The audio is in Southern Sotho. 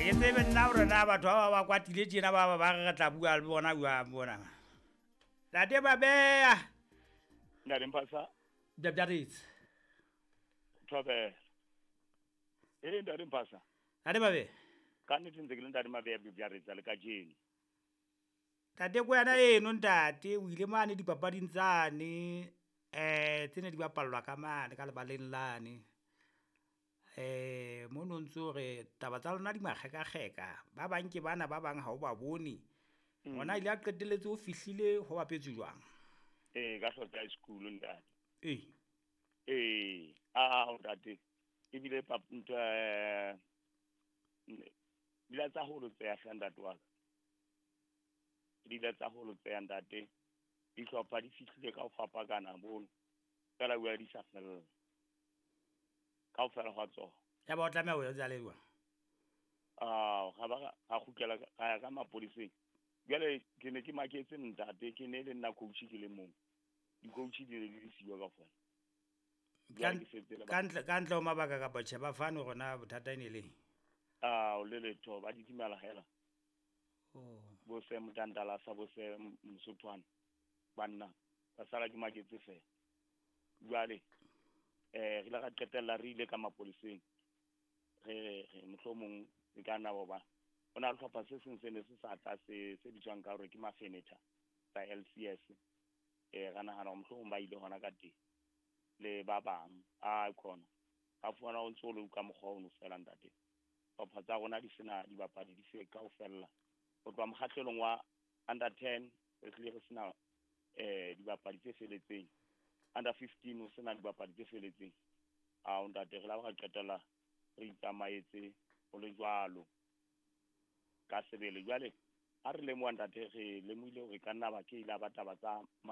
Ke tsebe nna hore na batho ba ba kwatile tjena ba ba re re tla bua le bona jwang bona. Ntate Mabeya. Ntate Mphasa. Bjabjaretse. Thobela. Eh Ntate Mphasa. Ntate Mabeya. Ka nnete ntse ke le Ntate Mabeya Bjabjaretse le kajeno. Ntate ko yana eno ntate o ile mane dipapading tsane tse ne di bapallwa ka mane ka lebaleng lane. Mono ntso re taba tsa lona di makgekakgeka, ba bang ke bana ba bang ha o ba bone. Ona ile a qetelletse o fihlile ho bapetswe jwang? Ee, ka Hlotse High School ntate. Ee. Ee, a ntate. Ebile ntho dila tsa holo tseya hle ntate wa ka. Dila tsa holo tseya ntate. Dihlopha di fihlile ka ho fapakana bono. Fela bua di sa fella. Kaofela hwa tsona. Ya ba o tlameha ho etsa le jwang? Ah, ga ba ga kgutlela ga ya ka mapoliseng. Jwale ke ne ke maketse ntate, ke ne le nna coach ke le mong. Di-coach di ne di le siyo kaofela. Ka ntle ho mabaka kapa tjhe ba fane hore na bothata e ne le. Ah, o le letho ba didimala hela. Oh. Bo se motantala sa bo se Mosothwana. Banna ba sala ke maketse fela. Jwale re ile ra qetella re ile ka mapoliseng. Re mohlomong e ka nna ba o na le hlopha se seng se ne se sa tla se bitswang ka hore ke Mafenetha tsa LCS. Ra nahana hore mohlomong ba ile hona ka teng le ba bang a khona. Ka fumana o ntso le ka mokgwa ono fela ntate. Hlopha tsa rona di sena dibapadi di se kaofela. Ho tloha mokgahlelong wa under 10 re hlile re sena dibapadi tse feletseng. Under 15 o sena dibapadi tse feletseng. A ntate re la ba qetella re itsamaetse ho le jwalo. Ka sebele jwale ha re lemoha ntate re lemohile hore ka nna ba ke ile ba taba tsa